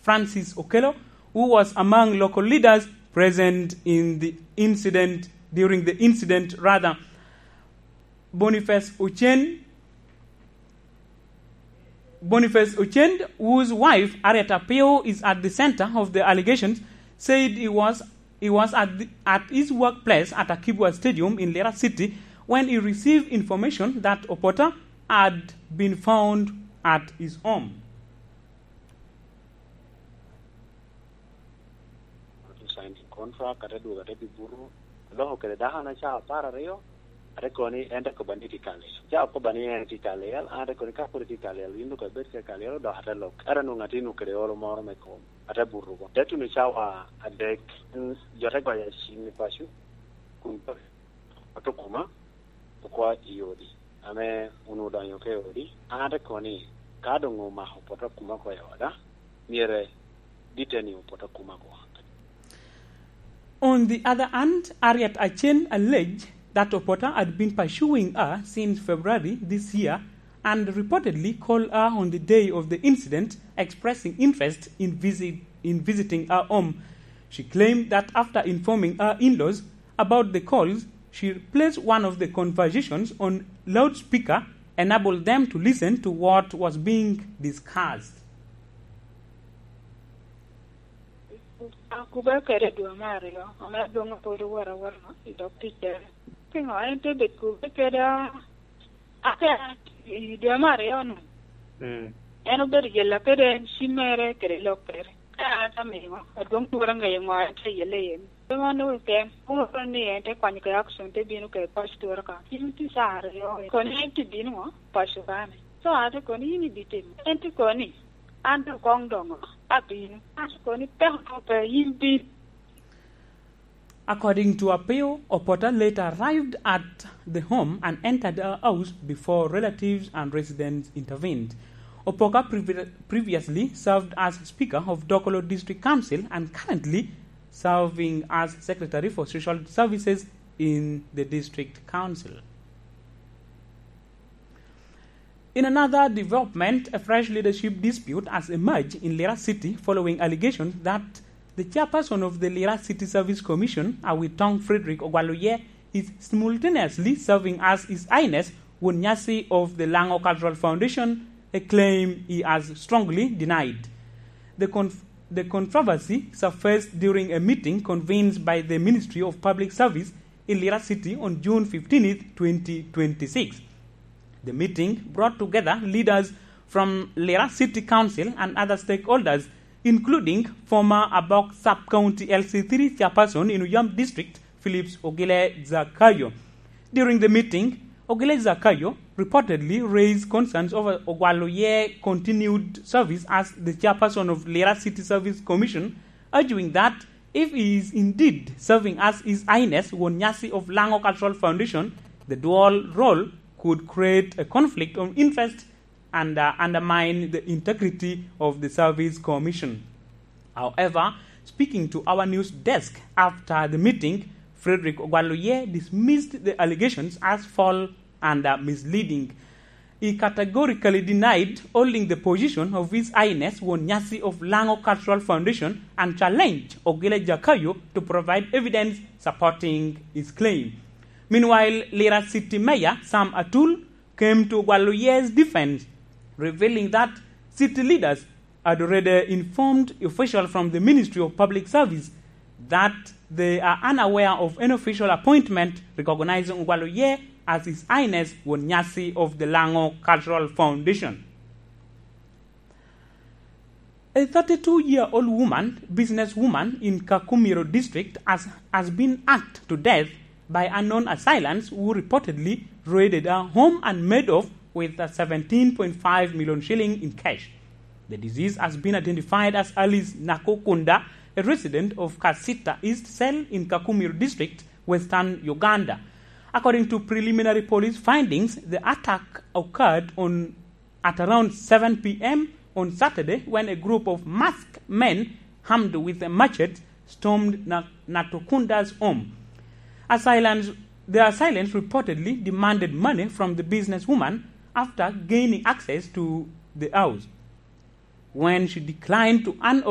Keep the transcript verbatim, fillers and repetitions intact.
Francis Okello, who was among local leaders present in the incident, during the incident, rather. Boniface Ochen, Boniface Ochen, whose wife, Harriet Apio, is at the center of the allegations, said he was, he was at the, at his workplace at Akibwa Stadium in Lira City when he received information that Opota had been found at his home. Signing contract, ate dwogo, ate bi buto, aloko kede dako-na caa apar aryo, ate kobo ni en te kobba ni tye ka lelo. Caa okobba ni en tye ka lelo, an ate kobo ni ka pwod itye ka lelo, yin doŋ ibed ka ka lelo, dok ate lok. Ate anwoŋo atye nwoŋo kede olo moro me kom, ate buto oko. Te tuno cawa adek, en, jo te goyo acim i paco, kun oto kuma, okwa i odi. Ame onwoŋo odonyo ka i odi, an ate kobo ni, ka doŋ omako poto kuma oko i oda, myero dite ni opoto kuma oko. On the other hand, Harriet Achen alleged that Opota had been pursuing her since February this year and reportedly called her on the day of the incident, expressing interest in visit, in visiting her home. She claimed that after informing her in-laws about the calls, she placed one of the conversations on loudspeaker, enabled them to listen to what was being discussed. Akube kede dwe me aryo, ame adwoŋ pwod owot awot no i dog ticcere. Piŋo en te bedo kube kede a-, ake i dwe me aryo-nu? Mm. En obedo jella kede en cimmere kede lokkere. Ka an amiŋo, adwoŋ twero ŋeyo ŋo en tye yelle iye. Pe man onwoŋo keken, oŋo ni en te kwanyo kede action, te bino kede paco twero ka. Cim tye caa aryo, kono en tye bino ŋo? Paco kane. So, an te kono, yin ibitimo. En te kono ni, an doŋ koŋ doŋo, abino. An te kono ni, peko pe, yin bin. According to Apio, Opota later arrived at the home and entered her house before relatives and residents intervened. Opoka previ-, previously served as Speaker of Dokolo District Council and currently serving as Secretary for Social Services in the District Council. In another development, a fresh leadership dispute has emerged in Lira City following allegations that the chairperson of the Lira City Service Commission, Awitong Frederick Ogwal Oye, is simultaneously serving as His Highness Won Nyasi of the Lango Cultural Foundation, a claim he has strongly denied. The conf-, the controversy surfaced during a meeting convened by the Ministry of Public Service in Lira City on June fifteenth, twenty twenty-six. The meeting brought together leaders from Lira City Council and other stakeholders, including former Abok Sub-County L C three chairperson in Uyam District, Phillips Ogile Zakayo. During the meeting, Ogile Zakayo reportedly raised concerns over Ogwal Oye continued service as the chairperson of Lira City Service Commission, arguing that if he is indeed serving as His Highness Won Nyasi of Lango Cultural Foundation, the dual role could create a conflict of interest and, uh, undermine the integrity of the Service Commission. However, speaking to our news desk after the meeting, Frederick Ogwal Oye dismissed the allegations as false and, uh, misleading. He categorically denied holding the position of His Highness Won Nyasi of Lango Cultural Foundation and challenged Ogile Zakayo to provide evidence supporting his claim. Meanwhile, Lira City Mayor Sam Atul came to Ogwal Oye's defense, revealing that city leaders had already informed officials from the Ministry of Public Service that they are unaware of any official appointment recognizing Ogwal Oye as His Highness Won Nyasi of the Lango Cultural Foundation. A thirty-two-year-old woman, businesswoman in Kakumiro District, has, has been hacked to death by unknown assailants who reportedly raided her home and made off with a seventeen point five million shilling in cash. The deceased has been identified as Alice Nakokunda, a resident of Kasita East Cell in Kakumiro District, Western Uganda. According to preliminary police findings, the attack occurred on at around seven p m on Saturday when a group of masked men armed with a machete stormed Na-, Natokunda's home. Assailants, the assailants reportedly demanded money from the businesswoman after gaining access to the house. When she declined to hand